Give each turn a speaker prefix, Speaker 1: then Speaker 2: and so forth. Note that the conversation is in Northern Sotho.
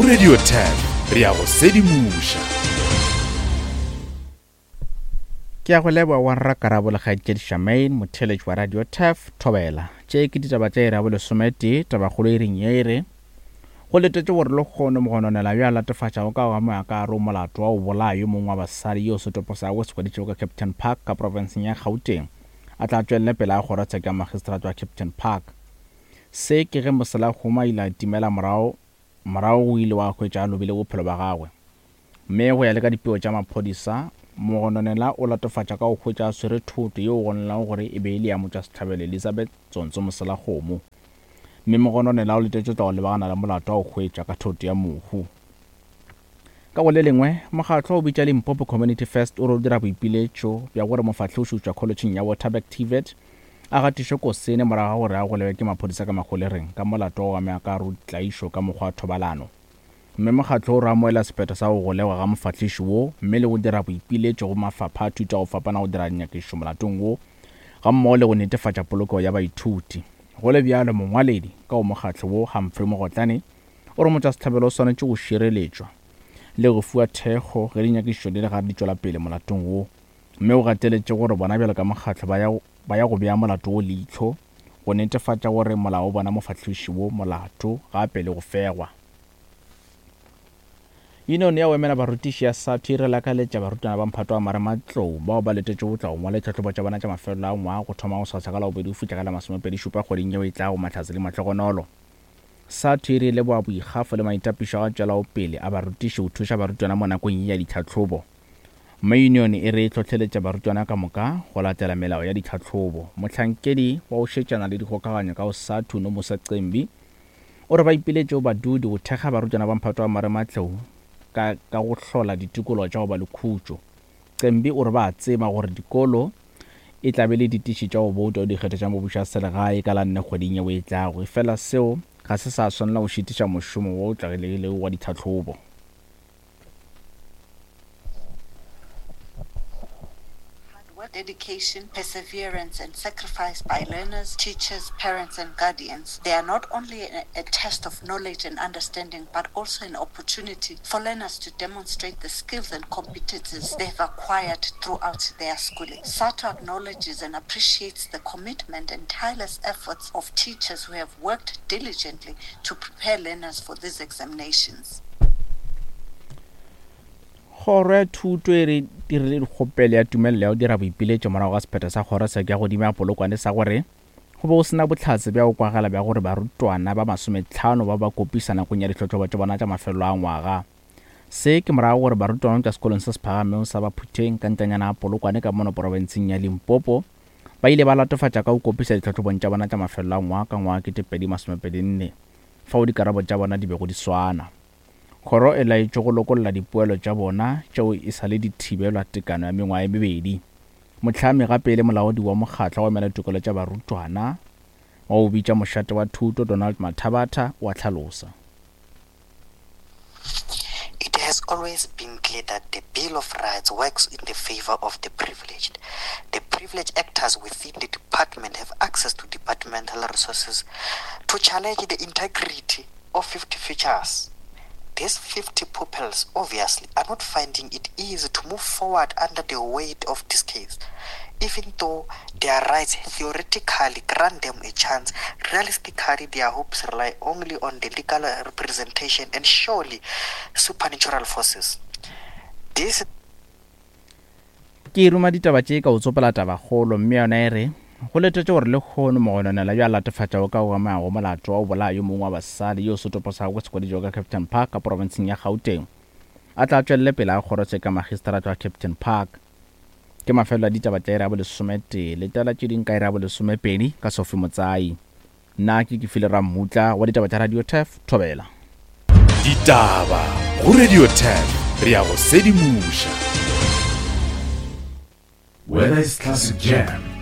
Speaker 1: go Radio 10 re a go sedimoša.
Speaker 2: Ke a go leboga wa rra Karabo le kgaetšedi Charmaine, motheeletši wa Radio Turf, Thobela. Tše ke ditaba tša iri ya bolesometee, tabakgolo iring ye e re, Go letetšwe gore lehono mogononela yo a latofatšago ka go amoga ka gare o molato wa go bolaya yo mongwe wa basadi yo setopo sa gagwe se hweditšwego ka Kempton Park ka profenseng ya Gauteng a tla tšwelele pele ga kgorotsheko ya magistrata wa Kempton Park. Se ke ge Moselahuma a ile a timela morago morago go ile wa hwetša a lobile bophelo bja gagwe. Mme go ya le ka dipego tša maphodisa, mogononela o latofatša ka go hwetša a swere thoto yeo go gononelago gore e be e le ya motšwasehlabelo Elizabeth Tsontso Moselakgomo. Mme mogononela o letetšwe tla go lebagana le molato wa go hwetša ka thoto ya mohu. Ka go le lengwe, mokgatlo o bitša Limpopo Community First o re o dira boipiletšo bja gore mofahloši go tšwa kholetšheng ya Waterberg TVET a gatišwe kosene morago ga gore a golegwe ke maphodisa ka magolegeng ka molato wa go amega ka gare go ditlaišo ka mokgwa wa thobalano. Mme mokgatlo o re amoela sephetho sa go golegwa ga mofahliši wo mme le go dira boipiletšo go mafapha a thuto a go fapana go dira dinyakišišo molatong wo gammogo le go netefatša polokego ya baithuti. Go le bjalo, mongwaledi ka go mokgatlo wo, Humphrey Mogotlane, o re motšwasehlabelo o swanetše go šireletšwa le go fiwa thekgo ge dinyakišišo di le gare di tšwela pele molatong wo mme o gateletše gore bona bjalo ka mokgatlo ba ya ba ya go bea molato wo leihlo go netefatša gore molao o bona mofahloši wo molato gape le go fegwa. Yunione ya go emela barutiši ya SADTU e re lakaletša barutwana ba mphato wa marematlou bao ba letetšego go tla go ngwala ditlhahlobo tša bona tša mafelelo a ngwaga go thoma gosasa ka Labobedi go fihla ka la masomepedi-šupa kgweding yeo e tlago Mahlatse le Mahlogonolo. SADTU e re e leboga boikgafo le maitapišo a go tšwelago pele a barutiši go thuša barutwana mo nakong ye ya ditlhahlobo. Mme yunione e re e hlohleletša barutwana ka moka go latela melao ya ditlhahlobo. Mohlankedi wa go šetšana le dikgokaganyo ka go SADTU, Nomusa Cembi, o re ba ipiletše go badudi go thekga barutwana ba mphato wa marematlou ka ka go hlola ditikologo tša go ba le khutšo. Cembi o re ba a tseba gore dikolo e tla be le ditiši tša go bouta go dikgetho tša mebušo ya selegae ka la nne kgweding yeo e tlago, efela seo ga se sa swanela go šitiša mošomo wo o tlwaelegilego wa ditlhahlobo.
Speaker 3: Dedication, perseverance, and sacrifice by learners, teachers, parents, and guardians. They are not only a, a test of knowledge and understanding, but also an opportunity for learners to demonstrate the skills and competencies they've acquired throughout their schooling. SATO acknowledges and appreciates the commitment and tireless efforts of teachers who have worked diligently to prepare learners for these examinations.
Speaker 2: Kgoro ya Thuto e re dirile dikgopelo ya tumelelo ya go dira boipiletšo morago ga sephetho sa kgorotsheko ya godimo ya Polokwane sa gore go be go se na bohlatse bja go kwagala bja gore barutwana ba masometlhano ba ba kopisa nakong ya dihlotlobo tša bona tša mafelelo a ngwaga. Se ke morago gore barutwana go tšwa sekolong se se phagamego sa Baphutheng ka ntanyana ya Polokwane ka mono porofenseng ya Limpopo ba ile ba latofatša ka go kopisa ditlhahlobong tša bona tša mafelelo a ngwaga ka ngwaga 2024 fao dikarabo tša bona di bego di swana. Kgoro e laetšwe go lokolla dipoelo tša bona tšeo e sa le di thibelwa tekano ya mengwaga e mebedi. Mohlami gape e le molaodi wa mokgatlo wa go emela ditokelo tša barutwana wa go bitša Mošate wa Thuto, Donald Mathabatha, o a hlalosa.
Speaker 4: It has always been clear that the Bill of Rights works in the favor of the privileged. The privileged actors within the department have access to departmental resources to challenge the integrity of 50 features. These 50 pupils obviously are not finding it easy to move forward under the weight of this case. Even though their rights theoretically grant them a chance, realistically their hopes rely only on the legal representation and surely supernatural forces. This
Speaker 2: Ke ruma ditaba tše ka o tsopola tabakgolo, mme yona e re, Go letetše gore lehono mogononelwa yo a latofatšwago ka go amegago molato wa go bolaya yo mongwe wa basadi yo setopo sa gagwe se hweditšwego ka Kempton Park ka porofenseng ya Gauteng a tla tšwelele pele ga kgorotsheko ya magistrata wa Kempton Park. Ke mafelelo a ditaba tša iri ya bolesometee. Letela tše ding ka iri ya bolesomepedi ka Sophie Motsai. Nna ke Kefile Rammutla wa ditaba tša Radio Turf, Thobela.
Speaker 1: Ditaba go Radio Turf, re a go sedimoša. Whether it's classic jam,